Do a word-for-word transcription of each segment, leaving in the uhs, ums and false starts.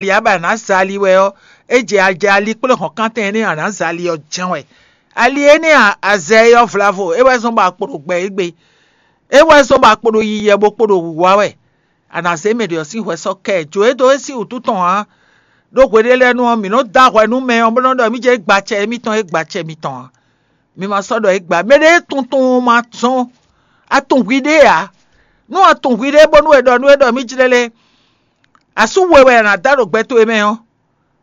ali ǎ bɔ a nǎ zɛ ali wɛ ɔ́, é jɛ a jɛ ali kplé hɔ̌nkántɛn énɛ́ a nǎ zɛ ali ɔ́ jɛ́n wɛ. Ali énɛ́ a a zɛ é ɔ́ vlavo, é wɛ zɔ́n bɔ a kpo ɖo gbɛ égbé. É wɛ zɔ́n bɔ a kpo ɖo yiyi wɛ bó kpo ɖo wǔwá wɛ. A nǎ zé mɛ ɖě ɔ́ sín hwɛ sɔ́ kɛ ɛ. Jǒ e dó é sín wǔtu tɔn ǎ. Ɖó hweɖélɛ́nu ɔ́, mǐ nɔ́ dó ahwɛ nú mɛ ɔ́ bó nɔ́ ɖɔ émí jɛ́n é gba acɛ émítɔn, é gba acɛ mitɔn ǎ. Mi ma sɔ́ ɖɔ é gba. Mɛɖé e tuntun ma zɔ́n. A tunwun hwiɖée ǎ. Nú a tunwun hwiɖée bónú è ɖɔ nú é ɖɔ mǐ jlɛ́ lé, asú we wɛ è nǎ dá ɖo gbɛ towe mɛ ɔ́,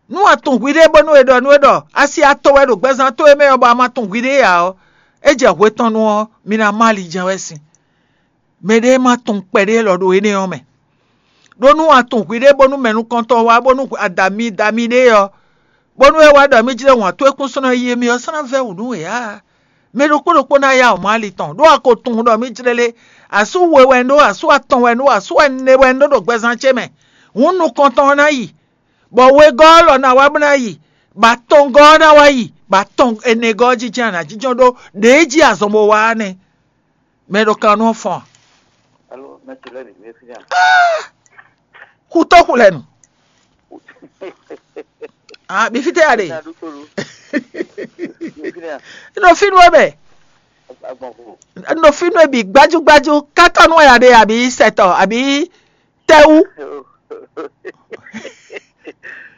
nú a tunwun hwiɖée bónú è ɖɔ nú é ɖɔ asi atɔn wɛ ɖo gbɛzán towe mɛ ɔ́, bɔ a ma tunwun hwiɖée ǎ ɔ́, é jɛ hwe tɔn nu ɔ́, mi ná má ali jɛ́n wɛ sin. Mɛɖé ma tunwun kpɛɖé lɔ ɖo énɛ́ ɔ́ mɛ. Ɖó nú a tunwun hwiɖée bónú mɛ nukɔntɔn wá bónú adami dami ɖé ɔ́, bónú é wá ɖɔ mí jlɛ́ wǎn towe kún sɔ́ ná yi émí ɔ́, sɔ́ ná vɛ́ wǔ nú we ǎ. Mɛ ɖokpó ɖokpó ná yá wǔ má ali tɔn, ɖó a ko tunwun ɖɔ mí jlɛ́ lé, asú we wɛ un ɖó, asú atɔn wɛ un ɖó, asú ɛnɛ wɛ un ɖó ɖo gbɛzán ce mɛ. Hǔn nukɔntɔn ɔ́ ná yi, bɔ wegɔ́ ɔ́ lɔ ná wá bó ná yi, bɔ atɔngɔ́ ɔ́ ná wá yi, bɔ atɔn ɛnɛgɔ́ ɔ́ jínjɔ́n a nǎ jínjɔ́n ɖó ɖě jí azɔn bó wá ɔ́ nɛ́. Mɛ ɖo kan nú ɔ́ fɔ́n a? Alo, mɛ ce lɛ́ɛ bǐ mɛ fínɛ́ a? Xutó xulɛnu. Ah, mi fitɛ ya ɖe. Nya ɖokpónu. Mi fínɛ́ a? Nɔ fínú ɛ mɛ. Agbɔn ko. Nɔ fínú ɛ bi gbájú gbájú. Káká nú ɛ ya ɖe àbí sɛtɔ àbí tɛwú.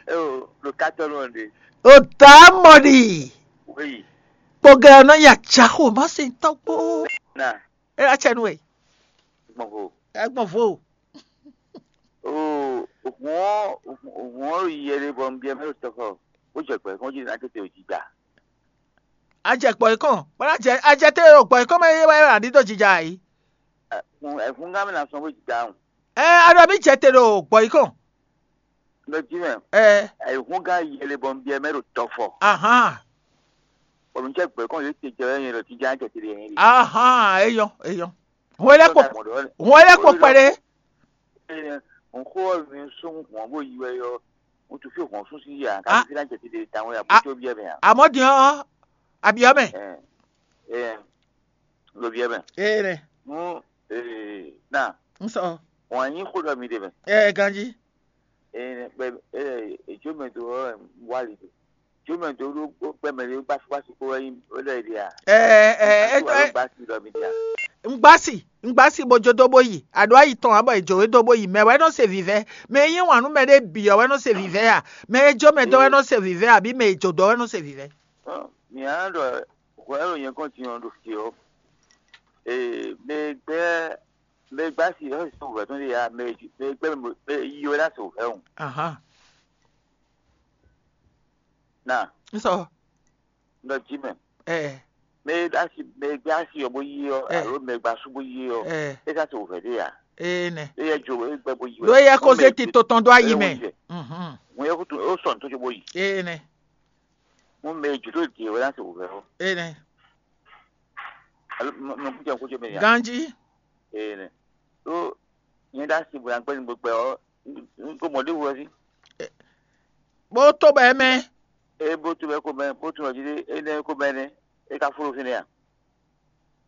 Eo, ɖo kátɔ nú ɔn ɖe. O dá mɔ ɖi. Wéyi. Kpogɛ ɔ́ nɔ nya jaxo má se tɔgbo. Na. E la cɛ nú ɛ. Gbɔn vo. Ɛ gbɔn vo. O, ògùn ɔ́, ògùn ɔ́ yi yɛ ɖe bɔ un biɛ mɛ ɖo tɔxɔ. Ó jɛ gbɛ kɔn jí ná tètè ò jija. A jɛ gbɔ yìí kɔn, bɔ a jɛ a jɛ te ɖo gbɔ yìí kɔn mɛ yé wá yé wá ɖi dó jija yìí. Ẹ̀fúngán mi ná sɔn bó jija hùn. Ɛ a ɖɔ mí jɛ te ɖo gbɔ yìí kɔn. Lɔ jí mɛ. Ɛ Ẹ̀fúngán yɛlɛ bɔ un biɛ mɛ ɖo tɔfɔ. Ahan. Bɔ mi jɛ gbɛ kɔn yé te jɛ yẹn lɔ jíjá jɛ te yẹn. Ahan, eyɔn, eyɔn. Hɔn lɛ kpo, hɔn lɛ kpo kpɛɖe. N xó ɔ́ mi sún hɔn bó yi wɛ yɔ. N tu fí hɔn sún sí yà ká fi ná jɛ te de tawun yà bó tó biɛ mɛ a. Àmọ́ din ɔ́, àbíọ́ mɛ. Ɛ ɛ lo biɛ mɛ. Ee nɛ. Nú ee na. N sɔ. Wọn anyi xó ɖɔ mi ɖe mɛ. Ɛ ganji. Ee bɛ ee edzo mɛ do ɔ wali do. Edzo mɛ do ɖo gbɛ mɛ ɖe gbasi gbasi kó wɛ yi wɛ lɛ ɖe a. Ɛ ɛ ɛ ɛ gbasi ɖɔ mi ɖe a. Ngbasi ngbasi bo jó dó bó yi, àɖó ayi tɔn ǎ bɔ è jǒ we dó bó yi. Mɛ wɛ nɔ se vǐvɛ́, mɛ e yí wǎn nú mɛ ɖé bǐ ɔ́ wɛ nɔ se vǐvɛ́ a? Mɛ e jó mɛ dó wɛ nɔ se vǐvɛ́, àbí mɛ e jǒ dó wɛ nɔ se vǐvɛ́? Mǐ á ɖɔ hwɛ e ɖo nyɛ gɔ́n din ɔ́ ɖo fí ɔ́, ee, mɛ e gbɛ́ mɛ e gbɛ́ asi ɔ́ sixú hwɛ tɔn ɖe ǎ, mɛ e mɛ e gbɛ́ mɛ e yi wɛ ná sixú hwɛ o. Ahán. Na. N sɔ. Nɔ jí mɛ. Ɛ. Mɛ e asi mɛ e gbɛ́ asi ɔ́ bó yi ɔ́, alo mɛ e gbɛ́ asú bó yi ɔ́, é ká sixú hwɛ ɖe ǎ. Ee nɛ. É yɛ jo é gbɛ bó yi wɛ. Ɖó é yɛ ko zé tito tɔn dó ayi mɛ. Ŋun yɛ kutu ó sɔ nǔ tó bó yi. Ee nɛ. Mo mɛ e jǒ dó jǐ wɛ ná se wǔvɛ́ ɔ́. Ee nɛ. Alo mo mo kú jɛ kó jɛ mɛ ya. Ganji. Ee nɛ. Ɖó nyɛ ɖó asi bɔ nyagbɛ́ ni gbɛgbɛ ɔ́, n ko mɔ ɖé wú ɔ́ sí. Bó tó bɛ mɛ. Ee bó tó bɛ ko mɛ bó tó nɔ jí ɖé énɛ́ ko mɛ nɛ́ é ka fó ɖo fínɛ́ a?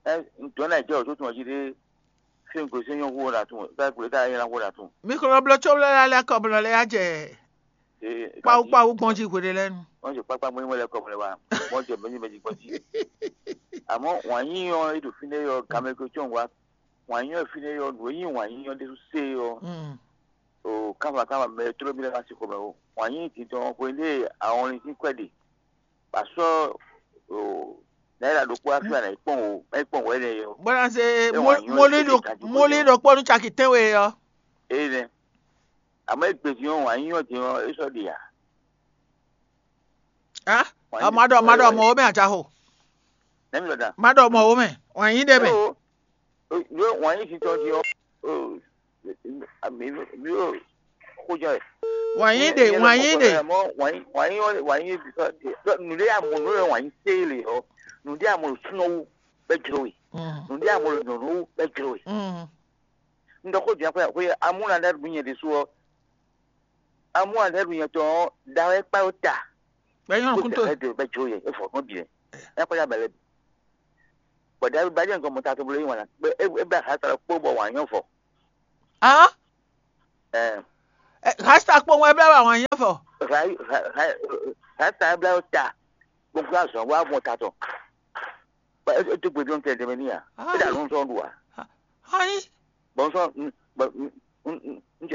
Ɛ ŋutɔ́ ná jɛ wǒ tó tún ɔ jí ɖé fí un gosín nyɔ́ hu ɔ́ ná tún ká gblé ká nyɛ ná hu ɔ́ ná tún. Mi ko nɔ bló có bló lɛ́ lɛ́ kɔ bló lɛ́ yá jɛ kpawú kpawú gbɔn jí hweɖé lɛ́ɛ nu. Wọ́n ṣe pápá mọ́ nímọ̀ lẹ́kọ̀ọ́ mọ́lẹ́ wa wọ́n jẹ mẹ́yìn mẹ́yìn gbọ́n jí. Àmọ́ wọ́n á yín yan ètò fínlẹ̀ yọ gàmẹ́gbẹ́ tí wọ́n wá wọ́n á yín yan fínlẹ̀ yọ nù yín wọ́n á yín yan dé sé yọ. Mm. O káfà káfà mẹ tló mi lẹ́ wá sí xomɛ o wọ́n á yín títọ́ hwelé àwọn orin tí kwẹ́ ɖe. Pàṣọ o náírà ɖokpó wá fí wà náà kpɔn o ẹ kpɔn wɛ nɛ yɔ. Bwana se Ẹ wà nyɔ moli ẹ ɖo tɛ́ ka moli ɖo kpɔnu caki tɛnwe yɔ. Eye nɛ àmọ́ ẹ gbèsè yɔ wà nyɔ jẹ yɔ ẹ sɔ ɖe yà. Ah, ma ɖɔ ma ɖɔ mɔ wo mɛ ajaho. Nɛmi lɔ da. Ma ɖɔ mɔ wo mɛ wà nyi ɖe mɛ. Yɔ wà nyi titɔ di yɔ. Mi yɔ kojɔ yɛ. Wà nyi ɖe wà nyi ɖe. Wà nyi wà nyi wà nyi bisɔ. Nùdí àmọ̀ nù yɔ wà nyi sèé le yɔ. Nùdí àmọ̀ sunɔ̀wù bɛ jùlọ wì. Nùdí àmọ̀ nùnú bɛ jùlọ wì. Ndɔ ko diɛ ko ko amuna da du nyɛ de so. Amuna da du nyɛ tɔ da wɛ kpa o ta. Bɛ nyɔnu kun to. Ko tɛ do bɛ jo yɛ e fɔ ko diɛ. E ko ya bɛlɛ. Bɔ da ba jɛ nko mo ta to bolo yi wana. Be e ba ha ta ko bɔ wa nyɔ fɔ. Ah? Eh. Rasta kpowun wɛ blá wà wǎn nyí fɔ. Rasta blá yɔ ta gbogbo azɔn wa mɔ ta tɔn. É dó gbe dɔn tɛ dɛmɛ ní a. É dà ló ń sɔn ɖu a. Ayi. Bɔn sɔn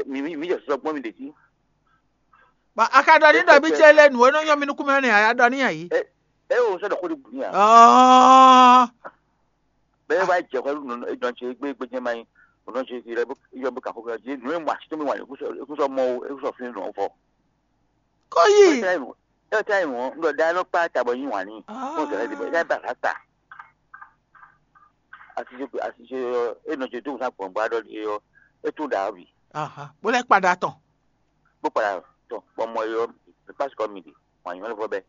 mi mi jɛ sɔsɔ gbɔn mi ɖe jí. Ba a ka ɖɔ ní ɖɔ bí cɛ lé nǔ e nɔ nyɔ mi nukún mɛ nɛ a ya ɖɔ ní ayi. É o sɔ ɖɔ xó ɖi bù ní a. Ɔɔ. Bɛɛ wá jɛ xɔ nɔ nɔ ce gbé gbé jɛ ma yi nɔ ce fi lɛ yɔ bó ka xó jí nù e mɔ asi tó mi wà ní kúsɔ mɔ o é kúsɔ fi nɔ fɔ. Kó yí. Ɛ tɛ yi nɔ ɖɔ da nɔ kpa tabɔ yín wà ní kó zɛlɛ di bɛ ɛ bá ta. Asi ce asi ce yɔ é nɔ ce tó sa gbɔn bá ɖɔ di yɔ é tó da bi. Bó lɛ kpa da tɔn. Bó kpa da tɔn bɔ mɔ yɔ pasi kɔ mi di wà ní mɛ fɔ bɛ.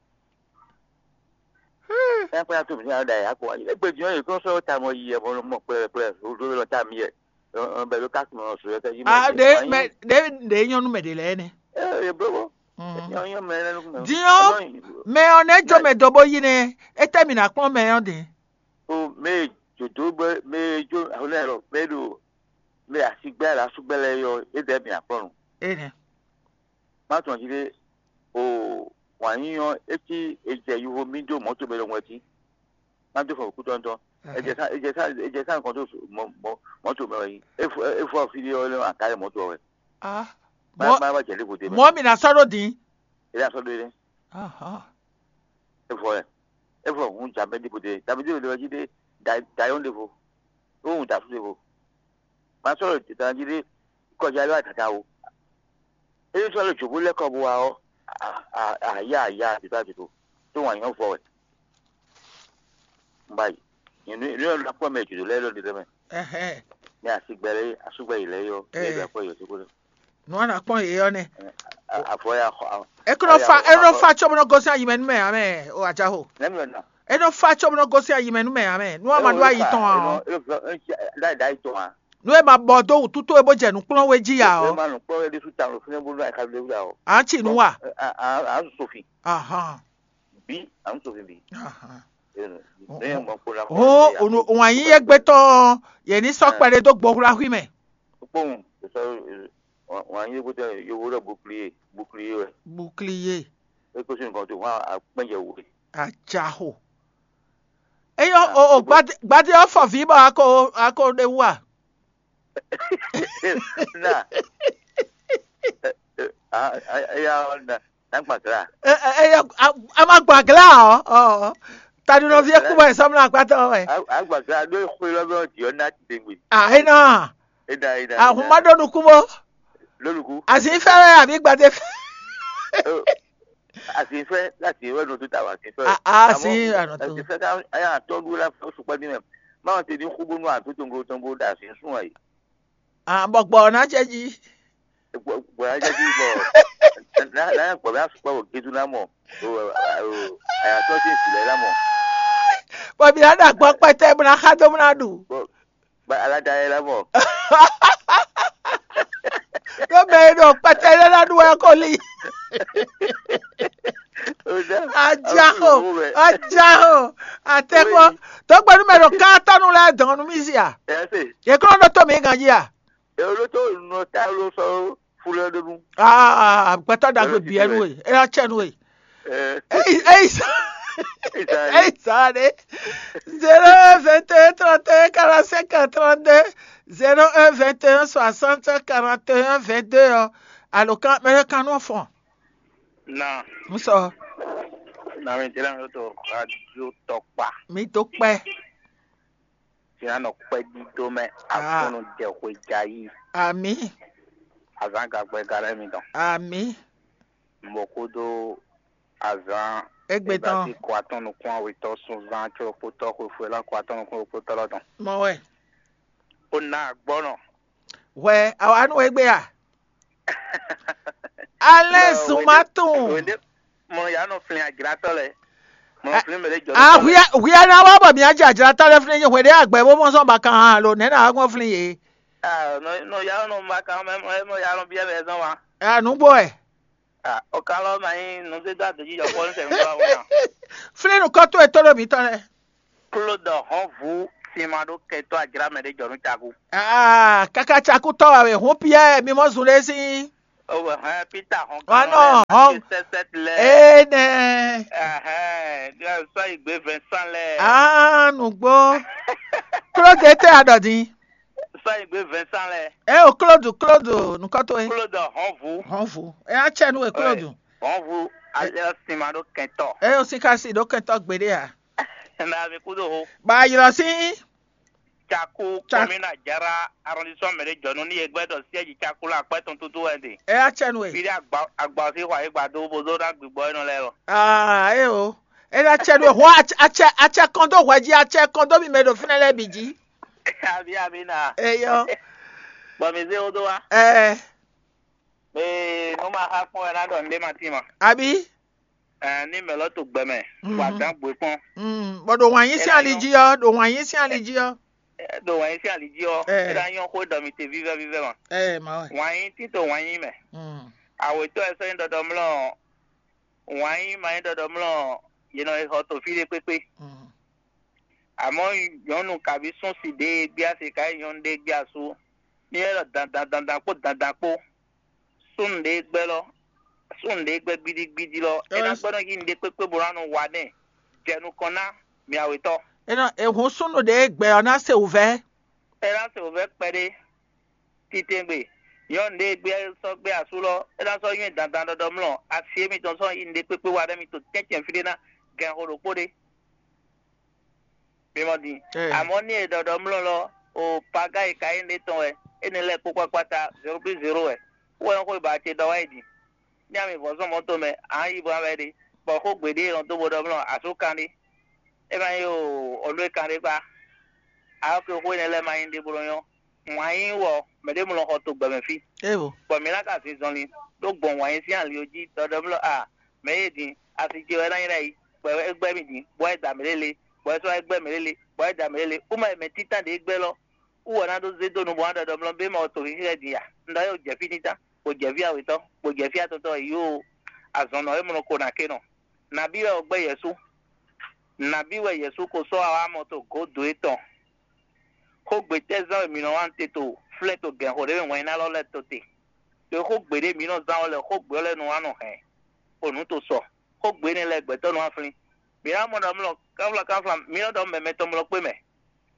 Ɛ kpɛ to mi nya da ya kɔ. Egbe jɔ ye kɔ sɔ ta mɔ yi ɛ bɔ mɔ kpɛ kpɛ o do lɔ ta mi ɛ. Bɛ lo ka kun sɔ yɛ kɛ yi mɔ. Ah, de mɛ de de nyɔnu mɛ de lɛ nɛ. Ɛ ye blo bɔ. Nyɔ nyɔ mɛ lɛ nu mɛ. Diɔ mɛ ɔ nɛ jɔ mɛ dɔ bo yi nɛ. Etɛ mi na kpɔn mɛ ɔ de. O mɛ jodo bɛ mɛ jo ahulɛ lɔ mɛ do mɛ asigbɛ la sugbɛ lɛ yɔ e dɛ mi akpɔn nu. Enɛ. Má tɔn jí ɖé o wǎn yíyɔ́ é cí è jɛ yuvo mì dó mɔ̌to mɛ lɔmɔ̌ jí. Má dó fɔ kútɔ́ ŋutɔ́. È jɛ sá è jɛ sá è jɛ sá nukɔn tó mɔ̌to mɛ wɛ yí. É fɔ é fɔ fí ɖé ɔ́ lé aká lɛ mɔ̌to wɛ. Ah, má má má jɛ lévo dé mɛ. Mɔ̌ mi ná sɔ́ ɖó din. É ná sɔ́ ɖó dé. Ahán. É fɔ ɛ é fɔ hun jamɛ dé bòde jamɛ dé bòde wɛ jí ɖé dayɔ́n ɖé vo. Ó hun dǎsú ɖé vo. Má sɔ́ ɖo dǎn jí ɖé kɔjá lé wá tata o. Ényí sɔ́ lé jǒbú lɛ́ kɔ bo wá ɔ́, a a a yá a yá a dǐdó a dǐdó tó wǎn nyɔ́ vɔ wɛ. Un ba yi. Nyɛ nú nú ɔ́ ɖo akpɔ́ mɛ jǒdó lɛ́ɛ lɔ ɖe mɛ. Ɛhɛn. Ní asigbɛ lɛ́ɛ asúgbɛ yi lɛ́ɛ yɔ Ee. Yɛ ɖo akpɔ́ yɔ sókó lɛ. Nú a nǎ kpɔ́n yě ɔ́ nɛ́. Avɔ ya xɔ. É kó nɔ fa é nɔ fa có bó nɔ gosín ayi mɛ nú mɛ ǎ mɛ o àjǎxo. Nɛ́ mi ɔ́ na. É nɔ fa có bó nɔ gosín ayi mɛ nú mɛ ǎ mɛ. Nú a ma ɖó ayi tɔn ǎ ɔ́. Ɖáyi ɖáyi tɔn a. Nú é ma bɔ dó wǔtútú é bó jɛ nǔkplɔ́n wé jí ya Ɛ ɔ́. Ma nɔ kpɔ́ wɛ ɖésú ta lɔ fínɛ́ bó nɔ aka lé wúlá o. À ń tì nú wa. À ń sòfin. Ahán. Bí à ń sòfin bí. Ahán. Lẹ́yìn ọmọ kó la Hɔn òun àyín yé gbé tɔn yɛ ní sɔ́ kpɛɖé dó gbɔhúláhú mɛ. Kpóhùn sọ wọn yé gbótɔ yòówó lọ bouclier bouclier wɛ. Bouclier. É kó sí nǹkan tó wọn àpẹ́jẹ wò. Àjàhò. Eyɔ o o gbadé gbadé ɔfɔ vǐ bɔ ako ako ɖe wú a. Na. Eya na na gbàgbà. Eyɔ a ma gbàgbà ɔ ɔ tadunɔvi ekú bɔ ìsɔmúlò agbátɔ wɛ. Agbàgbà ló ń kó lọ́bẹ̀ ọ̀dì ọ́ náà ti dé gbè. Àhínà Eda eda. Àhùnmá ɖó nukún bó. Lólùkú. Àsìfẹ́ wɛ àbí gbadé fẹ́. Àsìfẹ́ láti ìwé ọdún tó ta wà àsìfẹ́. Àsì àná tó. Àsìfẹ́ ká ayé àtọ́dúró láti oṣù pẹ́ nínú ẹ̀. Máa ń tẹ̀lé kú bónú àtúntò ńgó tó ń bó dà sí sún ẹ̀. Àbọ̀gbọ̀ ọ̀nà jẹ́ jí. Gbọ̀dọ̀ jẹ́ jí bọ̀. Láyé gbọ̀dọ̀ á sùpọ̀ wò gídú náà mọ̀. Àyàtọ̀ sí ìsìlẹ̀ náà mọ̀. Bọ̀bí á dà gbọ́ pẹ́tẹ́ múná xá dó múná ɖu. Ba alada yɛ la mɔ. Ɖó mɛ e ɖo kpɛtɛ lɛ la ɖu wɛ ko li. Ajaho, ajaho, atɛkpɔ. Tɔgbɛnu mɛ ɖo káatɔnu lɛ dɔn nu mi zi a? Yɛ kɔ ɖo to mi gan ji a? Ewolo to nɔ ta lo sɔ fulɛ ɖo nu. Aa gbɛtɔ dagbe biɛ nu e, e na cɛ nu e. Eyi eyi sa eyi sa ɖe. Zéro un vingt et un trente et un quarante-cinq trente-deux, zéro un vingt et un soixante quarante et un vingt-deux ɔ. Alo kan mɛ kan nɔ fɔn. Na. N sɔ. Na mi jira mi to radio tɔkpa. Mi to kpɛ. Fina nɔ kpɛdídó mɛ. Ah. Afúnnu jɛ xwe jayí. Ami. Azán gagbɛ galɛ mi dɔn. Ami. Mɔ kúdó azán. Egbe tɔn. Ebasi kɔ atɔn nukún awetɔ sunzan tso kpótɔ xwefue la kɔ atɔn nukún kpótɔ lɔ dɔn. Mɔ wɛ. Ó ná agbɔnɔ. Hwɛ awa nú egbe a. Alɛ́ zun ma tunwun. Mɔ ya nɔ flin ajlatɔ lɛ. Mɔ flin mɛ lɛ jɔ. Ah, hwia hwia na wa bɔ mi aja ajlatɔ lɛ flin nyi hwede agbɛ bo mɔ sɔn ba kan ha lo nɛ na wa gbɔn flin ye. Ah, no no ya no ma kan mɛ mɔ ya no bia mɛ zɔn wa. Ah, nugbo ɛ. Ah, o kan lɔ ma nyi no de da de ji jɔ ko se ngba wa. Flin nu kɔ to e to do mi tɔ lɛ. Klodɔ hɔn vu sima ɖo kɛtɔ ajla mɛ ɖe jɔ nu caku. Ah, kaka caku tɔ wa we hun piɛ mi mɔ zun ɖe sin. O hɛn Peter hɔn Wá kan nɔ, lɛ hɔn. Sɛsɛt lɛ. Ene. Ɛhɛn, sɔ igbe Vincent lɛ. Ah, nugbo. Claude te adɔdin. Sɔ igbe Vincent lɛ. E o Claude, Claude nukɔto e. Claude hɔnvu. Hɔnvu. E a cɛ nu e Claude. Hɔnvu alɛ sima ɖo kɛntɔ. E o si ka si ɖo kɛntɔ gbeɖe a. Na mi kudo ho. Ba ylɔ si. Caku Ca- kɔmina jara arrondissement mɛ ɖe jɔ nú ní e gbɛdɔ siège Caku la akpɛ tɔn tutu wɛ ɖe. E a cɛ nu e. Fi ɖe agba agba si xɔ ayigba do bo do na gbigbɔ enɔ lɛ lɔ. Ah, e o. E na cɛ nu e hɔn acɛ acɛ acɛ kɔn do hwɛ ji acɛ kɔn do mi mɛ ɖo fínɛ lɛ bǐ jí. Abi abi na. Eyɔ. Bɔn mi zé wo do wa. Ɛɛ. Ee, nu ma xa kpɔn wɛ na ɖɔ nɖé ma tín ma. Abi. Ɛɛ, ní mɛ lɔ to gbɛ mɛ, Mhm. Wa dán gbé kpɔn. Mm, bɔ ɖo wǎn yí sín ali jí ɔ́, ɖo wǎn yí sín ali jí ɔ́. Ɛ, ɖo wǎn yí sín ali jí ɔ́, Ɛ. É ná nyɔ́ xó ɖɔ mi te vívɛ́ vívɛ́ ma. Ɛ, ma wɛ. Wǎn yí títò wǎn yí mɛ. Mm, Awětɔ́ ɛ sɔ́ nyí ɖɔɖɔmlɔ́, wǎn yí ma nyí ɖɔɖɔmlɔ́, yě nɔ e xɔ to fí ɖé kpékpé. Mm. Amɔ̌ nyɔ̌nu kabí súnsi ɖé e gbé asi ka nyí nyɔ̌nu ɖé e gbé asú, ní é ɖɔ dandan dandan kpó dandan kpó. Súnnu ɖé gbɛ́ lɔ, súnnu ɖé gbɛ́ gbídígbídí lɔ, é ná gbɛ́ nɔ yí nǔɖé kpékpé bó ná nɔ wa nɛ́. Jɛ nukɔn ná, mì awětɔ́. É nɔ è hun súnnu ɖé gbɛ ɔ́ ná se wǔvɛ́. É ná se wǔvɛ́ kpɛɖé. Titewungbe, nyɔ̌nu ɖé gbé sɔ́ gbé asú lɔ, é ná sɔ́ nywɛ́ dandan ɖɔɖɔmlɔ́, asi émítɔn sɔ́ yí nǔɖé kpékpé wa ɖɛ́ mi to tɛ́ntin fí ɖé ná gɛn xo ɖokpó ɖé. Mi mɔ din. Amɔ̌ ní è ɖɔ ɖɔ mlɔ́ lɔ, o Paga e Kayín ɖe tɔn wɛ, énɛ́ lɛ́ɛ kpó kpákpáta zéro plus zéro wɛ. Wú wɛ nyɔ́ xó e ba ce ɖɔ wá yi din. Ní ami vɔ̌ zɔn mɔ̌ tomɛ, ǎ yi bó ná wɛ ɖe, bɔ xó gbeɖé e nɔ dó bo ɖɔ mlɔ́ asú kan ɖé. É ma nyí o ɔlú e kan ɖé kpá. Alɔ́ ke xó énɛ́ lɛ́ɛ ma nyí ɖěbǔ nɔ nyɔ́. Wǎn yí wɔ mɛɖé mlɔ xɔ to gbɛmɛ fí. Éwo. Bɔ mǐ ná ka zin zɔnlin ɖó gbɔn wǎn yí sín ali ɔ́ jí ɖɔɖɔ mlɔ́ a mɛ̌ e din asi ce wɛ ná nyí ɖ'ayǐ, bɔ é gbɛ́ mì din, bɔ é da mǐ lélé, bɔ é sɔ́ é gbɛ́ mǐ lélé, bɔ é da mǐ lélé. Kú ma yi mɛ títán ɖě gbɛ́ lɔ, wú wɛ ná ɖó zé dó nu bɔ ná ɖɔ ɖɔ mlɔ bé ma wɔ to xixlɛ́ din ya. Un ɖɔ é o jɛ fí títán, bó jɛ fí awětɔn, bó jɛ fí atɔntɔ́ yi ó azɔn nɔ é mlɔ ko ná ké nɔ. Nabí wɛ o gbɛ́ Yɛsu? Nabí wɛ Yɛsu ko sɔ́ awámɔ to gǒdo étɔn? Xógbe tɛ́ zán wɛ mǐ nɔ wá te to flɛ́ to gɛ̌nxó ɖé mɛ wɛn ná lɔ lɛ́ to te? Ɖo xógbe ɖé mǐ nɔ zán ɔ́ lɛ́ɛ xógbe ɔ́ lɛ́ɛ nɔ wá nɔ hɛn, xo nǔ to sɔ. Xógbe énɛ́ lɛ́ɛ gbɛtɔ́ nɔ wá flín. Mǐ ná mɔ ɖɔ mlɔ káfla káfla mǐ nɔ ɖɔ mɛ mɛtɔn mlɔ kpé mɛ.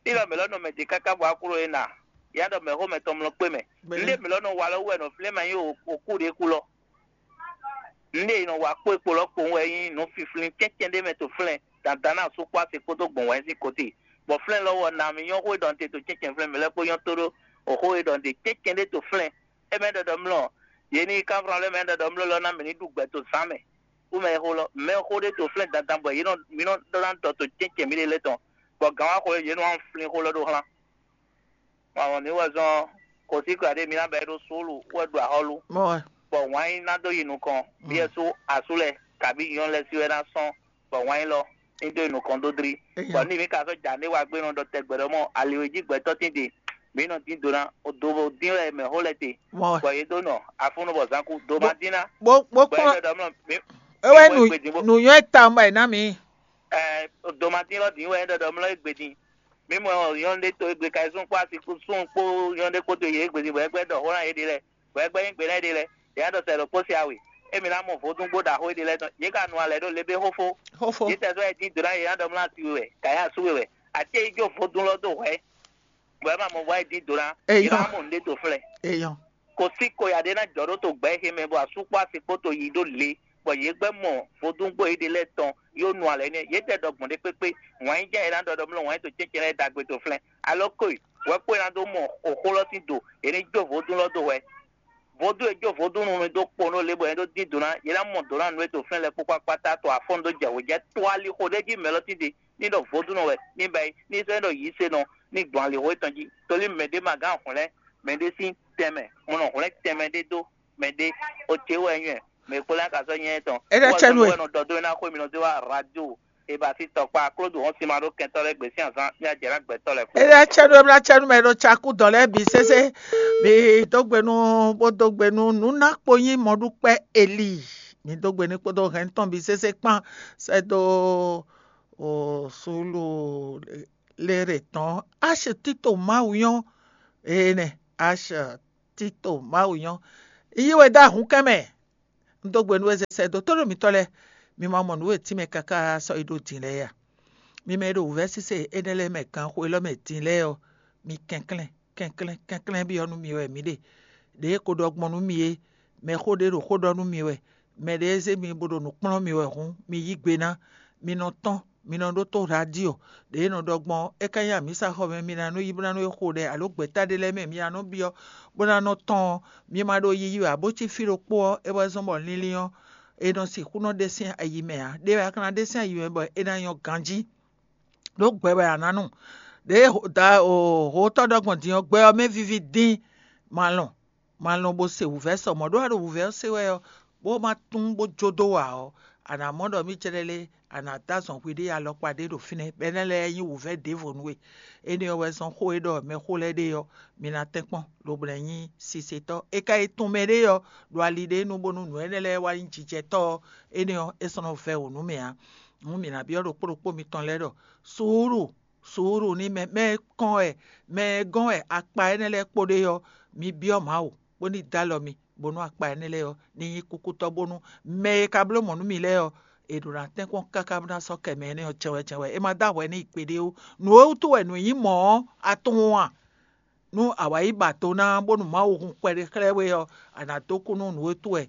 Ní ɖɔ mǐ lɔ nɔ mɛ ɖě káká bɔ akló é na. Yá ɖɔ mɛxó mɛtɔn mlɔ kpé mɛ. Nǔɖé mǐ lɔ nɔ wa lɔ wú wɛ nɔ flín mɛ nyí òkú ɖě kú lɔ. Nǔɖé è nɔ wa kpó e kpo lɔ kpowun wɛ nyí nǔ fiflin cɛ́cɛ́n ɖé mɛ to flɛ́n dandan ná asú kpó asi kpódó gbɔn wɛ̌n sín kɔ́ti. Bɔ flɛ́n lɔ wɔ na mì nyɔ́ xó e ɖɔ un te to cɛ́cɛ́n flɛ́n mǐ lɛ́ kpó nyɔ́ tóɖó òxó e ɖɔ un ɖe cɛ́cɛ́n ɖé to flɛ́n. É mɛ ɖɔ ɖɔ mlɔ, yě ní kanflán lɛ́ɛ mɛ ɖɔ ɖɔ mlɔ lɔ ná mǐ ní ɖu gbɛ to zǎn mɛ. Kú mɛ e xó lɔ, mɛ xó ɖé to flɛ́n dandan bɔ yě nɔ mǐ nɔ ɖɔ ná ɖɔ to cɛ́cɛ́n mǐɖée lɛ́ɛ tɔn, bɔ gǎn wá xo yě nɔ wá flín xó lɔ ɖó xlán. Mawɔ ní wɛ zɔn kɔsíkla ɖé mi ná bɛ ɖó sólu wɛ ɖo axɔ́lú, bɔ wǎn yí ná dó yi nukɔn, byɔ́ sú asú lɛ́ɛ kabí nyɔ̌nu lɛ́ɛ sí wɛ ná sɔ́n, bɔ wǎn yí lɔ ní dó yi nukɔn dó dlí. Bɔ ní mi ka sɔ́ ja ní wa gbé nɔ ɖɔ tɛgbɛ ɖɔ mɔ ali e jí gbɛtɔ́ tín ɖe, mǐ nɔ dín do ná, do bo dín wɛ mɛ̌xó lɛ́ɛ te, bɔ yě dó nɔ afúnú bɔ zǎn kú, do ma dín ná. Bó bó Bɔ é kplɔ́n ɖɔ ɖɔ mlɔ mi é wɛ mi mɔ nu égbé dín bó nu nyɔ́ ta mɔ ɛ ná mi. Ɛɛ, do ma dín lɔ dín wɛ é ɖɔ ɖɔ mlɔ égbé dín. Mi mɔ nyɔ̌nu ɖé to égbé ka zún kpó asi kpó sún kpó nyɔ̌nu ɖé kpódó yě égbé dín bɔ é gbɛ́ ɖɔ xó ná yě ɖe lɛ́ɛ, bɔ é gbɛ́ nyí gbe ná yě ɖe lɛ́ɛ. Yě ná ɖɔ sɛ ɖo kpó se awe. Émi ná mɔ vodúngbó ɖaxó éɖé lɛ́ɛ tɔn. Yě ka nu alɛ ɖó le bé xófó. Xófó. Yě tɛ sɔ́ yɛ dín do ná yě ná ɖɔ mlá asi we wɛ, ka yá asú we wɛ. Acé yi jó vodún lɔ dó hwɛ̌. Bɔ é ma mɔ vɔ é dín do ná. Yě ná mɔ nǔɖé to flɛ́. Eyɔn. Kò sí koyà ɖé ná jɔ ɖó to gbɛ̌ xe mɛ bɔ asú kpó asi kpó to yi ɖó le, bɔ yě gbɛ́ mɔ vodúngbó éɖé lɛ́ɛ tɔn yó nu alɛ nɛ́. Yě tɛ ɖɔ gbɔn ɖé kpékpé, wǎn yí jɛ é ná ɖɔ ɖɔ mlɔ́ wǎn yí to cɛ́cɛ́ lɛ́ɛ ɖagbe to flɛ́n. Alɔ kóyi, wɛ kpó é ná dó mɔ xóxó lɔ sín do, yě ní jó vodún lɔ dó hwɛ. Vodún e jó vodún nu mi dó kpo nú le bɔ yě dó dín do ná, yě ná mɔ do ná nǔ e to flɛ́n lɛ́ɛ kpó kpákpátá to afɔ́n dó jɛ wě jɛ to ali xo ɖé jí mɛ lɔ tínte, ní ɖɔ vodúnnɔ wɛ, ní ba yi, ní sɔ́ ní ɖɔ yǐsenɔ, ní gbɔn ali xo étɔn jí. Tolí mɛ ɖé ma gán hwlɛ́n mɛ ɖé sín tɛnmɛ, mo nɔ hwlɛ́n tɛnmɛ ɖé dó mɛ ɖé, o ce wɛ nyɔ́ɛ, mɛ kpó lɛ́ ka sɔ́ nyɛ tɔn. É ɖɔ cɛ́ nú we. Wɛ nɔ dɔ dó ná xó mi nɔ dó wá radio, e ba sí tɔkpá klódù hɔn sima ɖó kɛntɔ́ lɛ́ɛ gbě sín azán ní ajɛ ná gbɛtɔ́ lɛ́ɛ kpó. É ɖɔ cɛ́ nú we, é ɖɔ cɛ́ nú mɛ e ɖo cakú dɔn lɛ́ɛ bǐ sésé. Mi dó gbe nú bó dó gbe nú nǔ ná kpo nyí mɔɖúkpɛ́ Eli. Mi dó gbe ní kpódó hɛn tɔn bǐ sésé kpán sɛ́ dó o Súlúlérè tɔn. Ash Tito Mawu nyɔ́. Énɛ́, Ash Tito Mawu nyɔ́. Yi wɛ dó ahǔnkɛ́n mɛ. Un dó gbe nú we zɛ sɛ́ dó tónú mitɔ́ lɛ́ɛ. Mi ma mɔ nǔ e tínmɛ káká sɔ́ yi ɖó din lɛ́ɛ a? Mi mɛ e ɖo wǔvɛ́ sísè énɛ́ lɛ́ɛ mɛ ganxó élɔ́ mɛ din lɛ́ɛ ɔ́, mi kɛnklɛ́n kɛnklɛ́n kɛnklɛ́n byɔ́ nú mi wɛ mǐ ɖe. Ɖěe ko ɖɔ gbɔn nú mi é, mɛxó ɖé ɖo xó ɖɔ nú mi wɛ, mɛ ɖé e zé mi bó ɖo nǔ kplɔ́n mi wɛ hǔn, mi yí gbe ná. Mi nɔ tɔ́n, mi nɔ ɖótó radio. Ɖě e nɔ ɖɔ gbɔn é ka nyí amǐsaxɔ mɛ mi ná nɔ yi bó ná nɔ yi xo ɖɛ alo gbɛ̌ta ɖé lɛ́ɛ mɛ mi ná nɔ byɔ́ bó ná nɔ tɔ́n ɔ́, mi ma ɖo yiyi wɛ ǎ bó cí fí ɖokpó ɔ́, é wɛ zɔ́n bɔ linlin ɔ́, è nɔ sixú nɔ ɖe sín ayi mɛ ǎ. Ɖé wɛ a ka ná ɖe sín ayi mɛ bɔ é ná nyɔ́ ganjí. Ɖó gbɛ wɛ a nǎ nu. Ɖěe hotɔ́ ɖɔ gbɔn din ɔ́, gbɛ ɔ́ mɛ víví dín. Malɔn malɔn bó se wǔvɛ́ sɔ mɔ̌ ɖó a ɖo wǔvɛ́ ɔ́ se wɛ ɔ́, bó ma tún bó jó dó wǎ ɔ́, a nǎ mɔ ɖɔ mí cɛɖɛlé a nǎ dó azɔn hwi ɖé alɔkpa ɖé ɖo fínɛ́, bɔ énɛ́ lɛ́ɛ nyí wǔvɛ́ ɖěvo nú we. Énɛ́ ɔ́ wɛ zɔ́n xó e ɖɔ mɛxó lɛ́ɛ ɖe ɔ́, mi ná tɛ́nkpɔ́n, lobo ná nyí sisetɔ́. É ka yi tunwun mɛ ɖé ɔ́, ɖo ali ɖé nu bónú nǔ énɛ́ lɛ́ɛ wá nyí jijɛtɔ́ ɔ́, énɛ́ ɔ́, é sɔ́ nɔ vɛ́ wǔ nú mɛ ǎ. Hǔn mǐ ná byɔ́ ɖokpó ɖokpó mitɔn lɛ́ɛ ɖɔ suúlu, suúlu ní mɛ mɛ e kɔn wɛ, mɛ e gɔ́n wɛ akpa énɛ́ lɛ́ɛ kpo ɖe ɔ́, mi byɔ́ Mawu, bó ní dó alɔ mi, bónú akpa énɛ́ lɛ́ɛ ɔ́ ní nyí kúkútɔ́, bónú mɛ e ka bló mɔ̌ nú mi lɛ́ɛ ɔ́, è ɖǒ ná tɛ́nkpɔ́n káká bó ná sɔ́ kɛ mɛ énɛ́ ɔ́ jɛ́n wɛ jɛ́n wɛ. É ma dó ahwɛ n'i gbeɖé ó. Nǔ e wútu wɛ nǔ nyí mɔ̌ ɔ́, a tunwun a? Nú a wǎ yi ba do ná bónú Mawu hun kpɛɖé xlɛ́ we ɔ́, a nǎ dó kú nú nǔ e wútu wɛ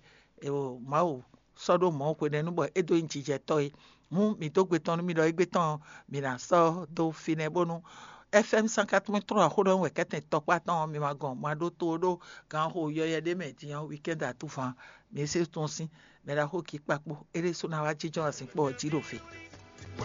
Mawu sɔ́ ɖó mɔ̌ hwenɛ́nu bɔ é dó nyí jijɛtɔ́ é. Hǔn mǐ dó gbe tɔn nú mi ɖɔ égbé tɔn ɔ́, mǐ ná sɔ́ dó fínɛ́ bónú F M cent quatre-vingt-trois xó ɖɔ wɛ kɛ́tɛn tɔkpá tɔn ɔ́, mi ma gɔn ma ɖó to ɖó ganxo yɔyɛ ɖé mɛ din ɔ́, weekend atúvan mǐ é se tɔn sín mɛ ɖaxó kí kpakpó é ɖésú ná wá jínjɔ́n azinkpo ɔ́ jí ɖo fě.